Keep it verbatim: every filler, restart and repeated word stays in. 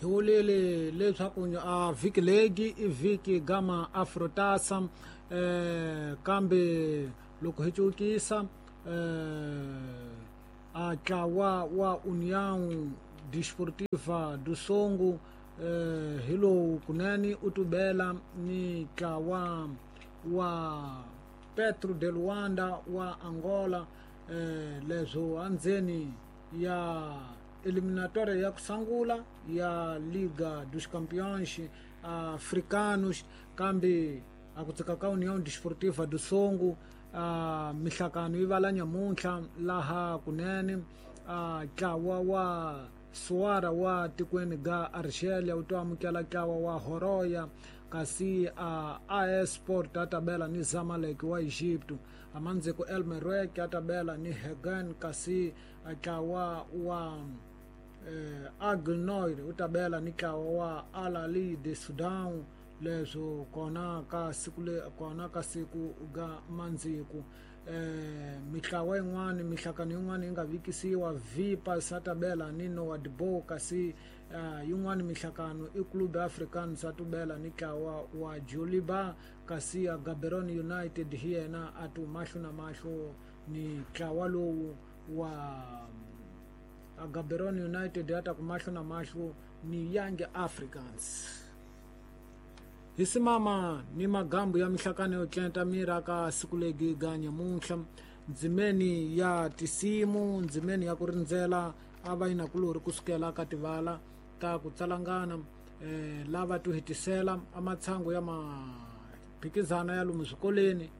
Hi vulile leswaku a vhiki legi i vhiki gama Afrotasa, eh kambe loko hi cukisa eh a tlawa wa União Desportiva do Songo eh hi lowu kunene u tubela ni tlawa wa Petro de Luanda wa Angola, eh leswo andzeni ya eliminatória ya kusangula ya Liga dos Campeões Africanos, kambe a ku tsika ka União Desportiva do Songo a mihlakano yi vala nyamuntlha laha kunene a tlawa wa Suara wa tikweni ga Argelia wu to amukela tlawa wa Horoya, kasi a A S Sport a tabela ni Zamalek wa Egypto, amandziko El Merreikh a tabela ni Hagen, kasi a tlawa wa eh, Aigle Noir u tabela ni tlawa wa Al Ahly de Sudan, leswo kona ka siku le kona ka siku ga mandziku. Eh mitlawa yin'wana mihlakano yin'wana yi nga vikisiwa Vipa Satabela ni Nouadhibou, kasi uh, yin'wana mihlakano i Club African Satubela ni tlawa wa Joliba, kasi ya Gaborone United hi yena a tu mahlo na mahlo ni tlawa lowu wa a Gaborone United ya ta ku mahlo na mahlo ni Young Africans. Hi simama ni magambu ya mihlakano yo tlenta mira ka siku legi ga nyamuntlha, ndzimeni ya tisimu, ndzimeni ya ku rindzela a va yinakulori kusukela ka tivala ta ku tsalangana, eh, lava to hetisela amatshango ya maphikizana ya lomu swikolweni.